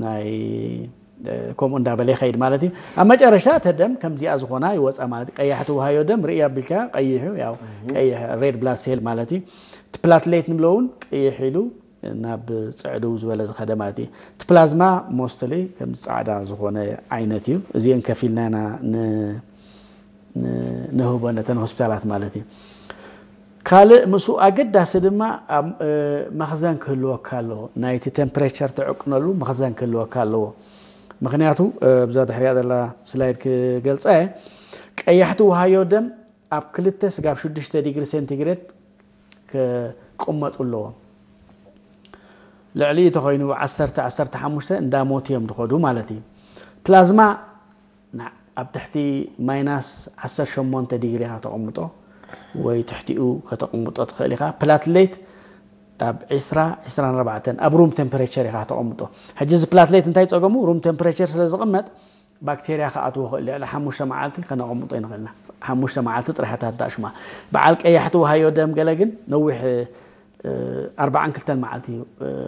ናይ ከምኡ እንዳበለ ይኸይድ ማለት እዩ። ኣብ መጨረሻ እተ ደም ከምዚኣ ዝኾና ይወፃ ማለት እዩ። ቀያሕቲ ውሃዮ ደም ርእያ ቢልካ ቀይሑ ያው ቀይሕ ሬድ ብላድ ሴል ማለት እዩ። እቲ ፕላትሌት ንብሎ እውን ቀይሕ ኢሉ ናብ ፅዕድው ዝበለ ዝኸደ ማለት እዩ። እቲ ፕላዝማ ሞስትሊ ከም ፃዕዳ ዝኾነ ዓይነት እዩ። እዚአን ከፊልና ኢና ንህቦ ነተን ሆስፒታላት ማለት እዩ። ካልእ ምስኡ ኣገዳሲ ድማ ኣብ መኽዘን ክህልወካ ኣለዎ። ናይቲ ቴምፕሬቸር ትዕቅነሉ መኽዘን ክህልወካ ኣለዎ። ምክንያቱ እዛ ድሕሪያ ዘላ ስላይድ ክገልፃ እየ። ቀያሕቲ ውሃዮ ደም ኣብ ክልተ ስጋብ ሽዱሽተ ዲግሪ ሴንቲግሬድ ክቕመጡ ኣለዎም። ልዕሊኡ ተኮይኑ ዓሰርተ ዓሰርተ ሓሙሽተ እንዳሞት እዮም ዝኸዱ ማለት እዩ። ፕላዝማ ኣብ ትሕቲ ማይናስ ዓሰርተ ሸሞንተ ዲግሪ ኢኻ ተቐምጦ ወይ ትሕቲኡ ከተቐምጦ ትኽእል ኢኻ። ፕላትሌት ኣብ ዕስራ ዕስራን ኣርባዕተን ኣብ ሩም ቴምፕሬቸር ኢኻ ተቐምጦ። ሕጂ እዚ ፕላትሌት እንታይ ፀገሙ? ሩም ቴምፕሬቸር ስለ ዝቕመጥ ባክቴርያ ክኣትዎ ክእል። ልዕሊ ሓሙሽተ መዓልቲ ከነቐምጦ ይንኽእልና። ሓሙሽተ መዓልቲ ጥራሕታት ዳሽማ በዓል ቀያሕቲ ውሃዮ ደም ገለ ግን ነዊሕ ኣርባዓን ክልተን መዓልቲ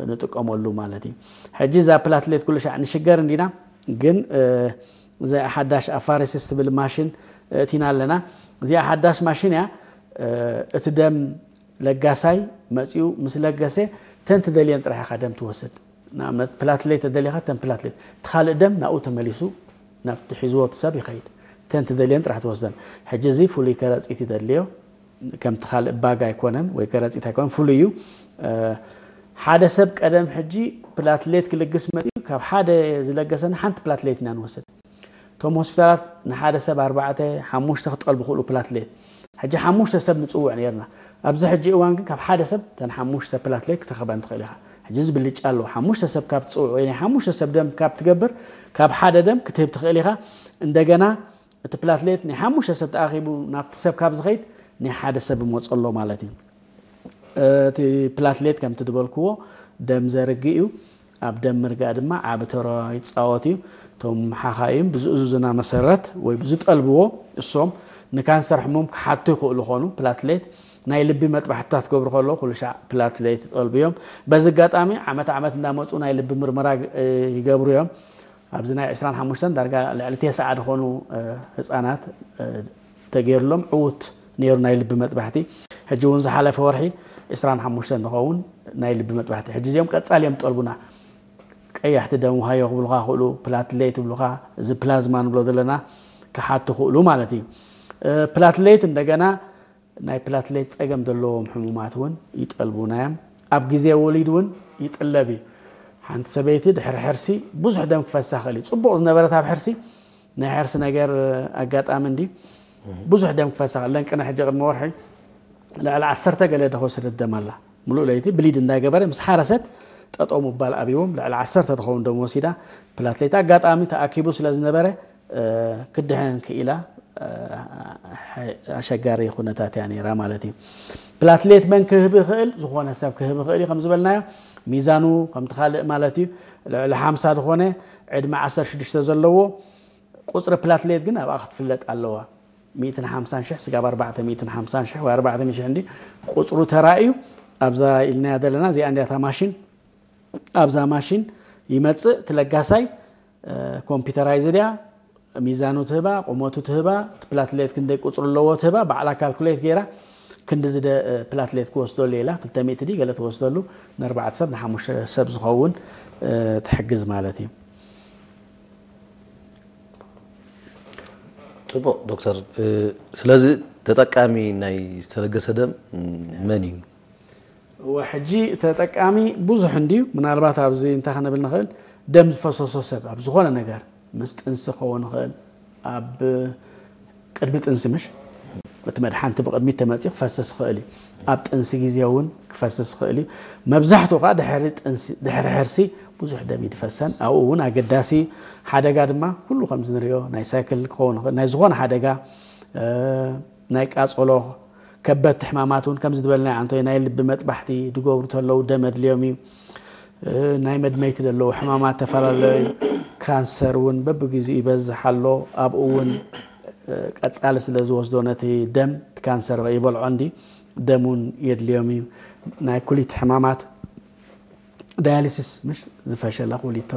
ንጥቀመሉ ማለት እዩ። ሕጂ እዛ ፕላትሌት ኩሉ ሻዕ ንሽገር እንዲና ግን እዚኣ ሓዳሽ ኣፋረሲስ ትብል ማሽን እቲና ኣለና። እዚኣ ሓዳሽ ማሽን እያ። እቲ ደም ለጋሳይ መፂኡ ምስ ለገሰ ተንቲ ደልየን ጥራሕ ኢኻ ደም ትወስድ። ንኣብነት ፕላትሌት ተደሊኻ ተን ፕላትሌት እቲ ካልእ ደም ናብኡ ተመሊሱ ናብቲ ሒዝዎ እቲ ሰብ ይኸይድ። ተንቲ ደልየን ጥራሕ ትወስደን። ሕጂ እዚ ፍሉይ ከረፂት ይደልዮ። ከምቲ ካልእ ባግ ኣይኮነን ወይ ከረፂት ኣይኮነን፣ ፍሉይ እዩ። ሓደ ሰብ ቀደም ሕጂ ፕላትሌት ክልግስ መፅኡ ካብ ሓደ ዝለገሰና ሓንቲ ፕላትሌት ኢና ንወስድ። እቶም ሆስፒታላት ንሓደ ሰብ ኣርባዕተ ሓሙሽተ ክጠልቡ ክእሉ ፕላትሌት። ሕጂ ሓሙሽተ ሰብ ንፅውዕ ነርና። ኣብዚ ሕጂ እዋን ግን ካብ ሓደ ሰብ ተን ሓሙሽተ ፕላትሌት ክትረኽበን ትኽእል ኢኻ። ሕጂ እዚ ብልጫ ኣለዎ። ሓሙሽተ ሰብ ካብ ትፅውዕ ወይ ናይ ሓሙሽተ ሰብ ደም ካብ ትገብር ካብ ሓደ ደም ክትህብ ትኽእል ኢኻ። እንደገና እቲ ፕላትሌት ናይ ሓሙሽተ ሰብ ተኣኺቡ ናብቲ ሰብ ካብ ዝኸይድ ናይ ሓደ ሰብ ይመፀሎ ማለት እዩ። እቲ ፕላትሌት ከምቲ ዝበልክዎ ደም ዘርግእ እዩ። ኣብ ደም ምርጋእ ድማ ዓቢ ተራ ይፃወት እዩ። እቶም ሓኻይም ብዝእዙዝና መሰረት ወይ ብዝጠልብዎ እሶም ንካንሰር ሕሙም ክሓቱ ይኽእሉ ኾኑ ፕላትሌት ናይ ልቢ መጥባሕትታት ክገብሩ ከለዉ ኩሉ ሻዕ ፕላትሌት ይጠልቡ እዮም። በዚ ኣጋጣሚ ዓመት ዓመት እንዳመፁ ናይ ልቢ ምርመራ ይገብሩ እዮም። ኣብዚ ናይ ዕስራን ሓሙሽተን ዳርጋ ልዕሊ ተስዓ ዝኾኑ ህፃናት ተገይሩሎም ዕዉት ነይሩ ናይ ልቢ መጥባሕቲ። ሕጂ እውን ዝሓለፈ ወርሒ ዕስራን ሓሙሽተን ንኸውን ናይ ልቢ መጥባሕቲ። ሕጂ እዚኦም ቀፃሊ እዮም ጠልቡና። ቀያሕቲ ደም ውሃዮ ክብሉካ ክእሉ፣ ፕላትሌት ይብሉካ፣ እዚ ፕላዝማ ንብሎ ዘለና ክሓቱ ክእሉ ማለት እዩ። ፕላትሌት እንደገና ናይ ፕላትሌት ፀገም ዘለዎም ሕሙማት እውን ይጠልቡና እዮም። ኣብ ግዜ ወሊድ እውን ይጥለብ እዩ። ሓንቲ ሰበይቲ ድሕሪ ሕርሲ ብዙሕ ደም ክፈሳ ክእል እዩ። ፅቡቕ ዝነበረት ኣብ ሕርሲ ናይ ሕርሲ ነገር ኣጋጣሚ እንዲ ብዙሕ ደም ክፈሳ ክእል። ለንቅነ ሕጂ ቅድሚ ወርሒ ልዕሊ ዓሰርተ ገለ ደኸወሰደት ደም ኣላ። ሙሉእ ለይቲ ብሊድ እንዳገበረ ምስ ሓረሰት ጠጠው ምባል ኣብዎም ልዕሊ ዓሰርተ ትኸውን ደም ወሲዳ። ፕላትሌት ኣጋጣሚ ተኣኪቡ ስለ ዝነበረ ክድሕን ክኢላ ኣሸጋሪ ኩነታት እያ ነይራ ማለት እዩ። ፕላትሌት መን ክህብ ይኽእል? ዝኾነ ሰብ ክህብ ይኽእል እዩ። ከም ዝበልናዮ ሚዛኑ ከምቲ ካልእ ማለት እዩ። ልዕሊ ሓምሳ ዝኾነ ዕድመ ዓሰርተ ሽዱሽተ ዘለዎ ቁፅሪ ፕላትሌት ግን ኣብኣ ክትፍለጥ ኣለዋ። ሚእትን ሓምሳን ሽሕ ስጋብ ኣርባዕተ ሚእትን ሓምሳን ሽሕ ወይ ኣርባዕተ ሚእቲ ሽሕ እንዲ ቁፅሩ ተራእዩ ኣብዛ ኢልናያ ዘለና እዚኣ እንዲያታ ማሽን ኣብዛ ማሽን ይመፅእ። እቲ ለጋሳይ ኮምፒውተራይዝድ እያ። ሚዛኑ ትህባ፣ ቁመቱ ትህባ፣ እቲ ፕላትሌት ክንደይ ቁፅሪ ኣለዎ ትህባ፣ ባዕላ ካልኩሌት ገይራ ክንዲ ዝደ ፕላትሌት ክወስደሉ ኢላ ክልተ ሚእቲ ድዩ ገለ ትወስደሉ ንኣርባዕተ ሰብ ንሓሙሽተ ሰብ ዝኸውን ትሕግዝ ማለት እዩ። ፅቡቕ ዶክተር። ስለዚ ተጠቃሚ ናይ ዝተለገሰ ደም መን እዩ? እወ ሕጂ ተጠቃሚ ብዙሕ እንድዩ። ምናልባት ኣብዚ እንታይ ክንብል ንኽእል፣ ደም ዝፈሰሶ ሰብ ኣብ ዝኾነ ነገር ምስ ጥንሲ ክኸውን ይኽእል፣ ኣብ ቅድሚ ጥንሲ ምሽ እቲ መድሓንቲ ብቅድሚት ተመፅኡ ክፈስስ ይኽእል እዩ። ኣብ ጥንሲ ግዜ እውን ክፈስስ ይኽእል እዩ። መብዛሕትኡ ከዓ ድሕሪ ጥንሲ ድሕሪ ሕርሲ ብዙሕ ደም ይድፈሰን ኣብኡ እውን ኣገዳሲ ሓደጋ ድማ ኩሉ ከምዚ ንሪኦ ናይ ሳይክል ክኸውን ይኽእል ናይ ዝኾነ ሓደጋ ናይ ቃፀሎ ከበድቲ ሕማማት እውን ከምዚ ዝበልና ኣንቶይ ናይ ልቢ መጥባሕቲ ድገብሩ ተለዉ ደም ኣድልዮም እዩ። ናይ መድመይቲ ዘለዉ ሕማማት ተፈላለዩ ካንሰር እውን በብግዚኡ ይበዝሕ ኣሎ። ኣብኡ እውን ቀፃሊ ስለ ዝወስዶ ነቲ ደም ካንሰር ይበልዖ እንዲ ደም እውን የድልዮም እዩ። ናይ ኩሊት ሕማማት ዳያሊሲስ ምሽ ዝፈሸላ ኩሊት